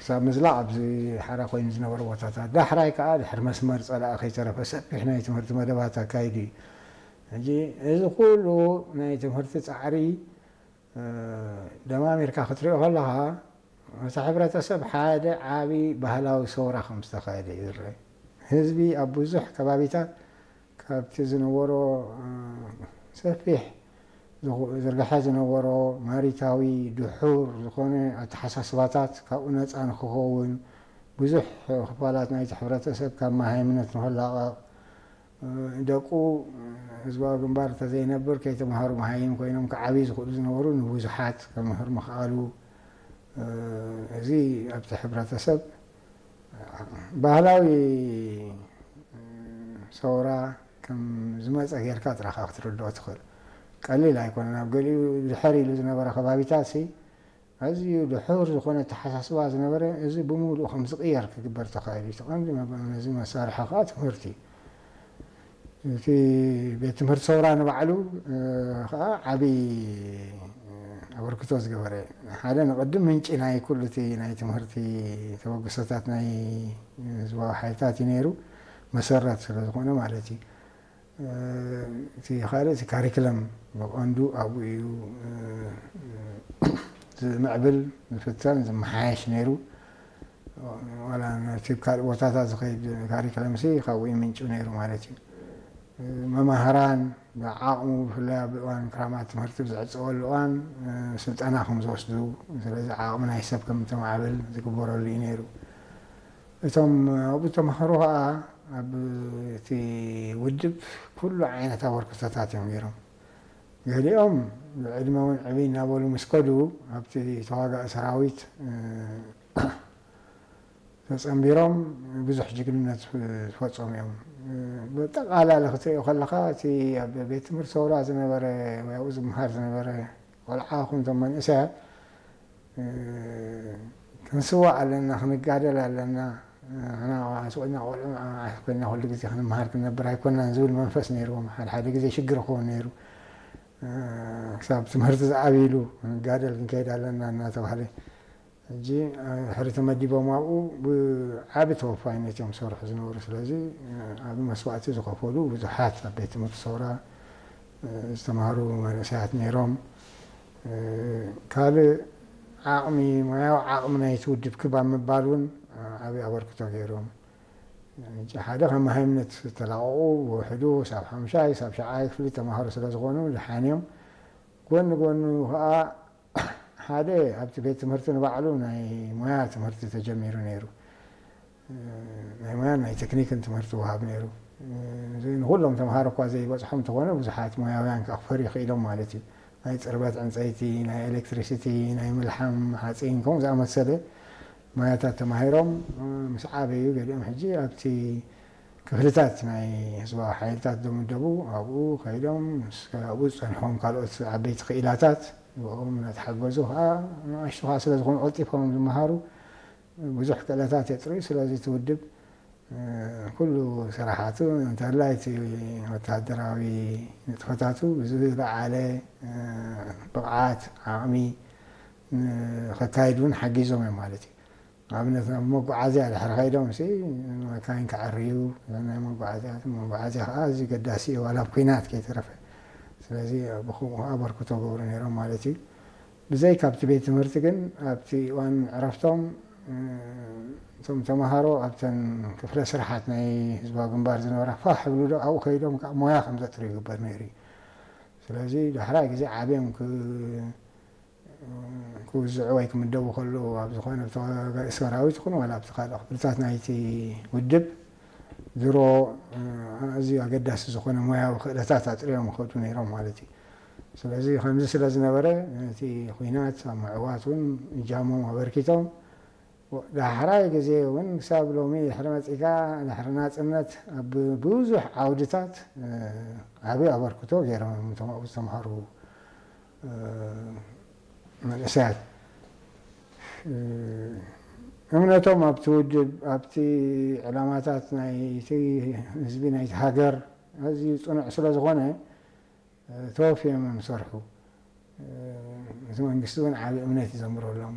ክሳብ ምዝላቕ ኣብዚ ሓራ ኮይኑ ዝነበረ ቦታታት፣ ዳሕራይ ከኣ ድሕሪ መስመር ጸላኢ ከይተረፈ ሰፊሕ ናይ ትምህርቲ መደባት ኣካይዱ እዩ። ሕጂ እዚ ኩሉ ናይ ትምህርቲ ጻዕሪ፣ እ፣ ደማሚርካ ክትሪኦ ከለኻ፣ እቲ ሕብረተሰብ ሓደ ዓቢ ባህላዊ ሰውራ ከም ዝተኻየደ እዩ ዝረአ። ህዝቢ ኣብ ብዙሕ ከባቢታት ካብቲ ዝነበሮ፣ እ፣ ሰፊሕ ዝኹ-፣ ዝርግሐ ዝነበሮ ማሪታዊ ድሑር ዝኾነ ኣተሓሳስባታት ካብኡ ነጻ ንክኸውን፣ ብዙሕ ክፋላት ናይቲ ሕብረተሰብ ካብ መሃይምነት ንኽላቐቕ፣ እ፣ ደቁ ህዝባዊ ግንባር እንተዘይነብር ከይተምሃሩ መሃይም ኮይኖም ክዓብዩ ዝኽእሉ ዝነበሩ ንብዙሓት ከምህር ምኽኣሉ፣ እ፣ እዚ ኣብቲ ሕብረተሰብ ባህላዊ፣ እ፣ ሰውራ ከም ዝመጸ ጌርካ ጥራኻ ክትርድኦ ትኽእል። ቀሊል ኣይኮነን። ኣብ ገሊኡ ድሕር ኢሉ ዝነበረ ከባቢታት ሲ ኣዝዩ ድሑር ዝኾነ ኣተሓሳስባ ዝነበረ፣ እዚ ብምሉኡ ከም ዝቕየር ክግበር ተኻኢሉ እዩ። እቲ ቀንዲ መ-፣ ነዚ መሳርሒ ከኣ ትምህርቲ እዩ። እቲ ቤት ትምህርቲ ሰውራ ንባዕሉ፣ እ፣ ከኣ ዓቢ፣ እ፣ ኣበርክቶ ዝገበረ። ሓደ ንቕድም ምንጪ ናይ ኩሉ እቲ ናይ ትምህርቲ ተበግሶታት ናይ ህዝባዊ ሓይልታት እዩ ነይሩ፣ መሰረት ስለ ዝኾነ ማለት እዩ። እ፣ እቲ ካልእ እቲ ካሪክለም ብቐንዱ ኣብኡ እዩ፣ እ፣ ዝምዕብል፣ ዝፍተን፣ ዝመሓየሽ ነይሩ። ዋላ ነቲ ካልእ ቦታታት ዝኸይድ ካሪክለምሲ ካብኡ ይምንጩ ነይሩ ማለት እዩ። መማህራን ብዓቕሙ፣ ብፍላይ ኣብ እዋን ክራማት ትምህርቲ ብዝዕጸወሉ እዋን፣ ስልጠና ከም ዝወስዱ፣ ስለዚ ዓቕሚ ናይ ሰብ ከም ተማዕብል ዝግበረሉ እዩ ነይሩ። እቶም ኣብኡ ተማሃሩ ኸኣ ኣብ እቲ ውድብ ኩሉ ዓይነት ኣበርክቶታት እዮም ገይሮም። ገሊኦም ብዕድመ እውን ዕብይ እናበሉ ምስ ከዱ ኣብቲ ተዋጋኢ ሰራዊት፣ እ፣ ተጸንቢሮም ብዙሕ ጅግንነት ዝፈጸሙ እዮም። ብጠቓላሊ ክትሪኦ ከለኻ፣ እቲ ኣብ ቤት ትምህርቲ ሰውራ ዝነበረ ወይ ኣብኡ ዝመሃር ዝነበረ ቆልዓ ይኹን እቶም መንእሰያት፣ እ፣ ክንስዋእ ኣለና፣ ክንጋደል ኣለና። ንሕና ቆልዓ ስቕ ኢልና፣ ቆልዑ ንዓና ኮይና ኩሉ ግዜ ክንመሃር ክንነብር ኣይኮናን ዝብል መንፈስ ነይርዎም። ሓደ ሓደ ግዜ ሽግር ክኸውን ነይሩ። እ፣ ክሳብ ትምህርቲ ዝዓብይሉ ክንጋደል ክንከይድ ኣለና እናተባህለ። ሕጂ፣ እ፣ ድሕሪ ተመዲቦም ኣብኡ ብዓቢ ተወፋይነት እዮም ዝሰርሑ ዝነበሩ። ስለዚ፣ እ፣ ዓቢ መስዋእቲ ዝኸፈሉ ብዙሓት ኣብ ቤት ትምህርቲ ሰውራ፣ እ፣ ዝተማህሩ መንእሰያት ነይሮም። እ፣ ካልእ ዓቕሚ፣ ሞያዊ ዓቕሚ ናይቲ ውድብ ክብ ኣብ ምባል እውን፣ እ፣ ዓቢ ኣበርክቶ ገይሮም። ሕጂ ሓደ ካብ መሃይምነት ዝተላቐቑ ብውሕዱ ሳብ ሓምሻይ፣ ሳብ ሻብዓይ ክፍሊ ተማሃሩ ስለ ዝኾኑ ደሓን እዮም። ጎኒ ጎኑ ኸኣ ሓደ ኣብቲ ቤት ትምህርቲ ንባዕሉ ናይ ሞያ ትምህርቲ ተጀሚሩ ነይሩ። ናይ ሞያን ናይ ቴክኒክን ትምህርቲ ወሃብ ነይሩ። እዚ ንኹሎም ተምሃሮ እኳ ዘይበጽሖም እንተኾነ፣ ብዙሓት ሞያውያን ከኣ ክፈርዩ ክኢሎም ማለት እዩ። ናይ ጽርበት ዕንጸይቲ፣ ናይ ኤሌክትሪሲቲ፣ ናይ ምልሓም ሓጺን፣ ከምኡ ዝኣመሰለ ሞያታት ተማሂሮም ምስ ዓበዩ፣ ገሊኦም ሕጂ ኣብቲ ክፍልታት ናይ ህዝባዊ ሓይልታት ዝምደቡ ኣብኡ ከይዶም፣ ምስ ኣብኡ ዝጸንሖም ካልኦት ዓበይቲ ክኢላታት ብኦም እናተሓገዙ ከኣ፣ ንኣሽቱ ከኣ ስለ ዝኾኑ ቀልጢፎም ዝመሃሩ፣ ብዙሕ ክእለታት የጥርዩ። ስለዚ እቲ ውድብ፣ እ፣ ኩሉ ስራሓቱ እንተላይ እቲ ወተሃደራዊ ንጥፈታቱ ብዝለዓለ፣ እ፣ ብቕዓት፣ ዓቕሚ፣ እ፣ ከካይድ እውን ሓጊዞም እዮም ማለት እዩ። ንኣብነት ናብ መጓዓዝያ ድሕሪ ከይዶም ሲ፣ መካይን ከዐርዩ፣ ናይ መጓዓዝያ፣ መጓዓዝያ ከኣ ኣዝዩ ገዳሲ እዩ፣ ዋላ ኣብ ኲናት ከይተረፈ። ስለዚ ብኸምኡ ከኣ ኣበርክቶ ገብሩ ነይሮም ማለት እዩ። ብዘይ ካብቲ ቤት ትምህርቲ ግን ኣብቲ እዋን ዕረፍቶም፣ እ፣ እቶም ተምሃሮ ኣብተን ክፍለ ስራሓት ናይ ህዝባዊ ግንባር ዝነበራ ፋሕ ይብሉ ዶ ኣብኡ ከይዶም ከኣ ሞያ ከም ዘጥርዩ ይግበር ነይሩ እዩ። ስለዚ ዳሕራይ ግዜ ዓብዮም ክ-፣ ክውዝዑ ወይ ክምደቡ ከለዉ ኣብ ዝኾነ ተዋጋኢ ሰራዊት ይኹን ዋላ ኣብቲ ካልእ ክፍልታት ናይቲ ውድብ ድሮ፣ እ፣ ኣዝዩ ኣገዳሲ ዝኾነ ሞያዊ ክእለታት ኣጥርዮም ይኸዱ ነይሮም ማለት እዩ። ስለዚ ከምዚ ስለ ዝነበረ፣ ነቲ ኲናት ኣብ ምዕዋት እውን እጃሞም ኣበርኪቶም። ዳሕራይ ግዜ እውን ክሳብ ሎሚ ድሕሪ መጺእካ፣ ድሕሪ ናጽነት ኣብ ብዙሕ ዓውድታት፣ እ፣ ዓቢ ኣበርክቶ ገይሮም እዮም እቶም ኣብኡ ዝተምሃሩ፣ እ፣ መንእሰያት። እ፣ እምነቶም ኣብቲ ውድብ፣ ኣብቲ ዕላማታት ናይቲ ህዝቢ፣ ናይቲ ሃገር ኣዝዩ ጽኑዕ ስለ ዝኾነ፣ ተወፍዮም እዮም ዝሰርሑ። እቲ መንግስቲ እውን ዓቢ እምነት እዩ ዘንብረሎም።